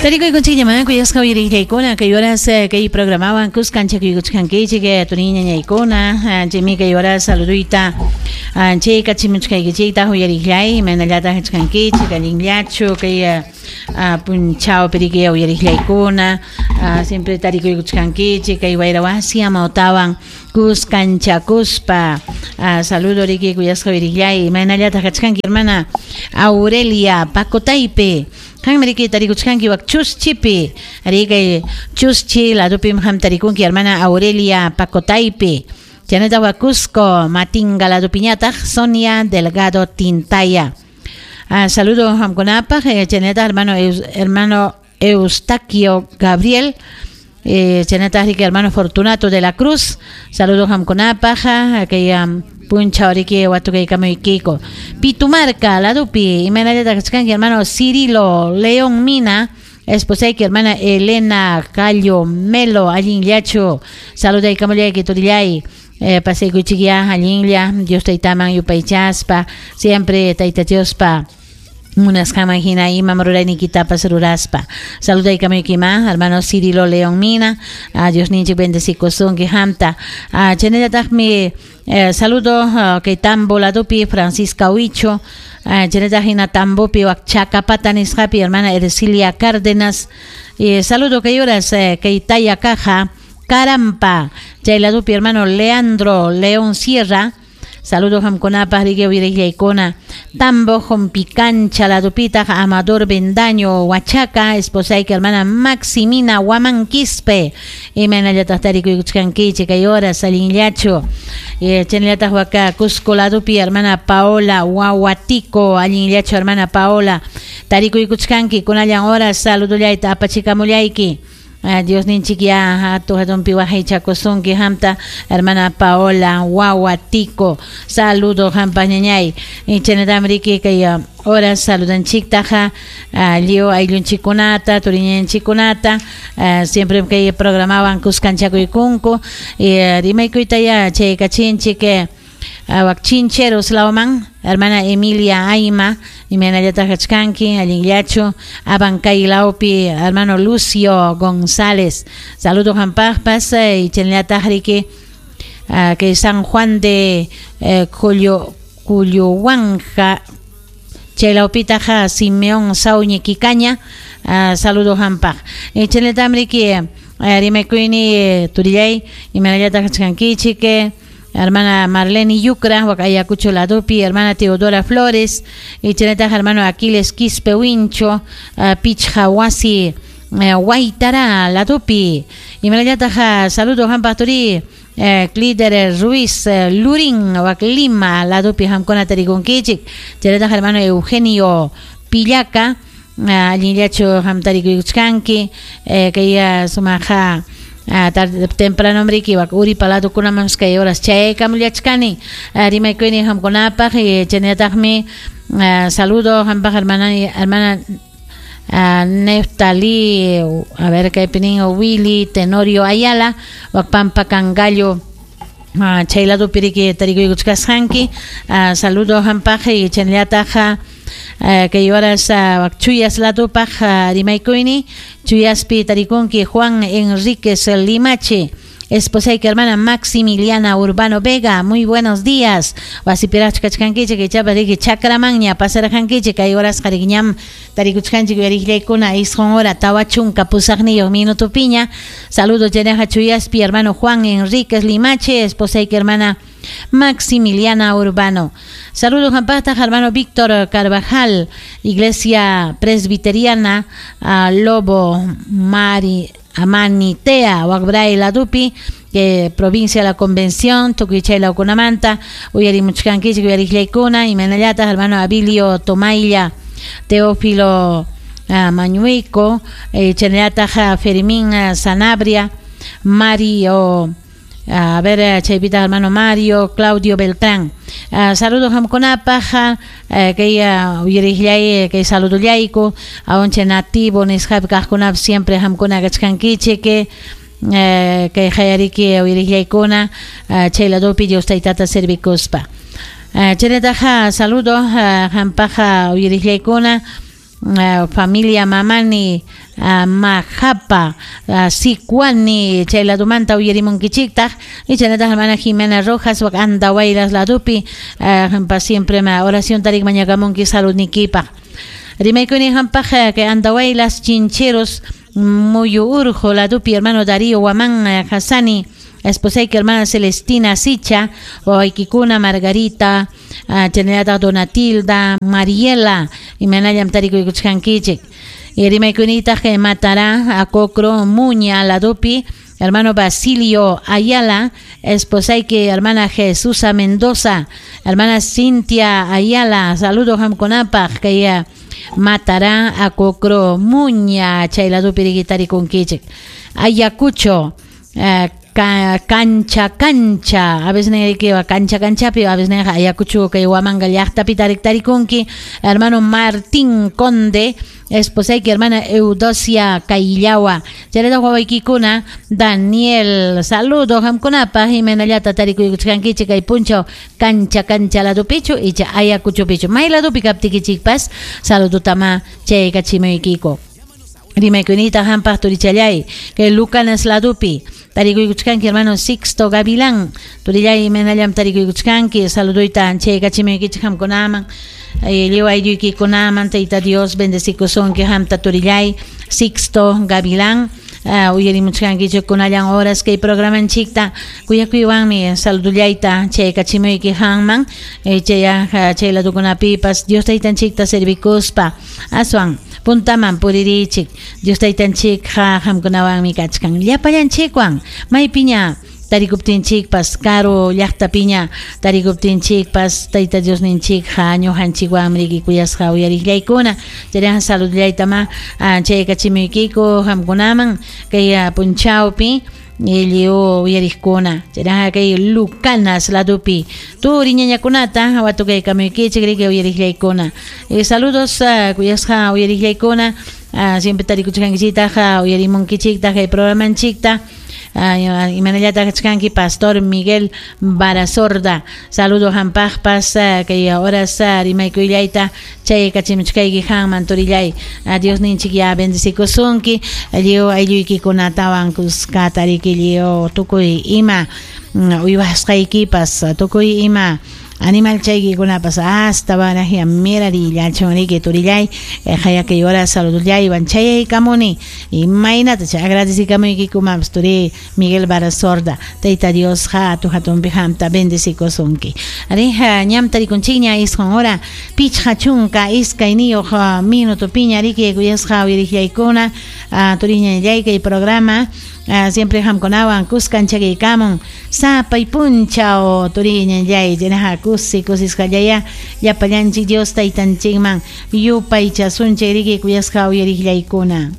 Tarikuykunchikñamá kuyasqa uyariqllaykuna kay horas kay programawan kuskanchakuykuchkankichik turiñañaykuna chaymi kay horas saluduyta chaykachimuchkaykichiktaq uyariqllay imaynallataq kachkankichik allinllachu kay punchawpi riki uyariqllaykuna siempre tarikuykuchkankichik kay wayra wasi amawtawan kuskanchakuspa saludo riki kuyasqa uyariqllay imaynallataq kachkanki hermana Aurelia Pacotaypi qanmi riki tarikuchkanki wak chuschipi riki chuschi ladupim qam tarikunki hermana Aurelia Pacotaypi chaynataq wak Cusco Matinga ladupiñataq Sonia Delgado Tintaya saludo qamkunapaq chaynataq hermano hermano Eustaquio Gabriel chaynataq riki hermano Fortunato de la Cruz saludo qamkunapaq kay punchaw riki watukaykamuykiku Pitumarca ladupi imaynallataq kachkanki hermano Cirilo León Mina esposayki hermana Elena Callo Melo allinllachu saludaykamullayki turillay pasaykuychikyá allinlla Dios taytaman yupaychaspa siempre tayta Diospa munasqanman hina imam rurayniykitapas ruraspa saludaykamuykima hermano Cirilo León Mina Diosninchik bendecikusunki qamta chaynallataqmi saludo kay Tambo ladupi Francisca Huicho chaynallataq hina Tambopi wak Chacapata nisqapi hermana Ercilia Cárdenas saludo kay horas kay Taya Caja Carampa chay ladupi hermano Leandro León Sierra saludo qamkunapaq riki uyariqllaykuna Tambo Jompicancha ladupitaq Amador Bendaño Huachaca esposayki hermana Maximina Huamán Quispe imaynallataq tarikuykuchkankichik kay horas allinllachu chaynallataq waka Cusco ladupi hermana Paola Wahuatico allinllachu hermana Paola tarikuykuchkanki kunallan horas saludullayta apachikamullayki Diosninchik ya hatun hatunpi waqaychakusunki qamta hermana Paola Wahuatico saludo qampaq ñañay chaynatam riki kay horas saludanchiktaqa lliw ayllunchikkunata turiñanchikkunata siempre kay programawan kuskanchakuykunku rimaykuytaya chaykachinchik wak Chincheros lawman hermana Emilia Aima imaynallataq kachkanki allinllachu Abancay lawpi hermano Lucio González saludo qampaqpas chaynallataq riki kay San Juan de Culluhuanja chay lawpitaq Simeón Sauñi Quicaña saludo qampaq chaynatam riki rimaykuyni turillay imaynallataq kachkankichik hermana Marlene Yucra, wak Ayacucho ladupi, hermana Teodora Flores, y chaynataq hermano Aquiles Quispe Huincho, Pichja Wasi Guaitara ladupi, imaynallataq saludo qampaq turi Clider Ruiz Lurín, wak Lima ladupi qamkuna tarikunkichik, chaynataq hermano Eugenio Pillaca, allinllachu qam tarikuykuchkanki, kay sumaqa tarde temprano riki wak Uripa ladukunaman kay horas chaykamullachkani rimaykuyni qamkunapaq chaynallataqmi saludo qampaq hermana hermana Neftali a ver kaypi nin Willy Tenorio Ayala wak Pampa Cangallo chay ladupi riki tarikuykuchkasqanki saludo qampaq chaynallataq kay horas wak Chuyas ladupaq rimaykuyni Chuyaspi tarikunki Juan Enríquez Limache esposayki hermana Maximiliana Urbano Vega muy buenos días wasipiraqchu kachkankichik ichapas riki chakramanña pasarqankichik kay horasqa riki ñam tarikuchkanchik uyariqllaykuna isqun hora 48 minutupiña saludo chaynaqa Chuyaspi hermano Juan Enríquez Limache esposayki hermana Maximiliana Urbano saludos qampaqtaq hermano Víctor Carvajal Iglesia Presbiteriana Lobo Mari Amanitea Wakbray ladupi provincia de la Convención tukuy chay lawkunamanta uyarimuchkankichik uyariqllaykuna imaynallataq hermano Abilio Tomaylla Teófilo Mañuico chaynallataq Fermín Sanabria Mario a ver chaypitaq hermano Mario Claudio Beltrán saludos qamkunapaq kay uyariqllay kay saludullayku awancha nativo nisqapi kaqkunapas siempre qamkuna kachkankichik kay qayariki uyariqllaykuna chay ladupi Dios taytata servikuspa chaynataqa saludo qampaq uyariqllaykuna Familia Mamani Majapa Sicuani chay ladumanta uyarimunkichiktaq chaynataq hermana Jimena Rojas wak Andahuaylas ladupi hampa siempre ma oración tarik mañakamunki saludnikipaq rimaykuni hampaq kay Andahuaylas Chincheros Muyu Urjo ladupi hermano Darío Guamán Hassani esposayki hermana Celestina Sicha wawaykikuna Margarita chaynallataq Donatilda Mariela imanallam tarikuykuchkankichik rimaykunitaq kay Matará Acocro Muña ladupi hermano Basilio Ayala, esposayki hermana Jesusa Mendoza, hermana Cintia Ayala, saludos hamkunapaq kay Matará Acocro Muña chay ladupi riki tarikunkichik Ayacucho cancha cancha a veces que cancha canchapi a veces Ayacucho kay Huamanga llaqtapi tarik tarikunki hermano Martín Conde esposayki hermana Eudosia Kaillawa chayrata wawaykikuna Daniel saludo hamkunapaq imaynallata tarikuykuchkankichik kay punchaw cancha cancha ladupichu icha Ayacuchopichu may ladupi kaptikichikpas saludotama chaykachimuykiko rimaykunita hampaq turichallay kay Lucanas ladupi tarikuykuchkanki hermano Sixto Gavilán turillay imaynallam tarikuykuchkanki saluduyta chaykachimuykichik hamkunaman lliw aylluykikunaman Tayta Dios bendecikusunki hamta turillay Sixto Gavilán uyarimuchkankichik kunallan horas kay programanchikta kuyakuywanmi saludullayta chaykachimuyki hanman chaya chay ladukunapipas Dios taytanchikta servikuspa aswan puntaman puririchik Dios taytanchik hamkunawanmi kachkan llapallanchikwan maypiña tarikuptinchikpas karu llaqtapiña tarikuptinchikpas Tayta Diosninchik ñuqanchikwanmi riki kuyasqa uyariqllaykuna chayraqa saludllaytama chaykachimuykiku hamkunaman kay punchawpi lliw uyariqkuna chayraqa kay Lucanas ladupi turi ñañakunata watukaykamuykichik riki uyariqllaykuna saludos kuyasqa uyariqllaykuna siempre tarikuchkankichiktaq uyarimunkichiktaq kay programanchikta imanallataq kachkanki Pastor Miguel Barasorda saludo hampaqpas kay horas rimaykuyllayta chaykachimuchkayki hanman turillay Diosninchik ya bendecikusunki lliw aylluykikunatawan kuskata riki lliw tukuy ima uywasqaykipas tukuy ima animal chaykikunapas hasta barajya mirarillachun riki turillay hayakay hora saludullaywan chayaykamuni imaynata chay agradecikamuykikumampas turi Miguel Barasorda Tayta Dios hatu hatunpi hamta bendecikusunki arija ñam tarikunchikña isqun hora pichqa chunka iskayniyuq minutopiña riki kuyasqa uyariqllaykuna turiñallay kay programa siempre hamkunawan kuskan chakiykamun sapay punchaw turiñallay chaynaqa kusi kusisqallaya llapallanchik Dios taytanchikman yupaychasunchik riki kuyasqa uyariqllaykuna.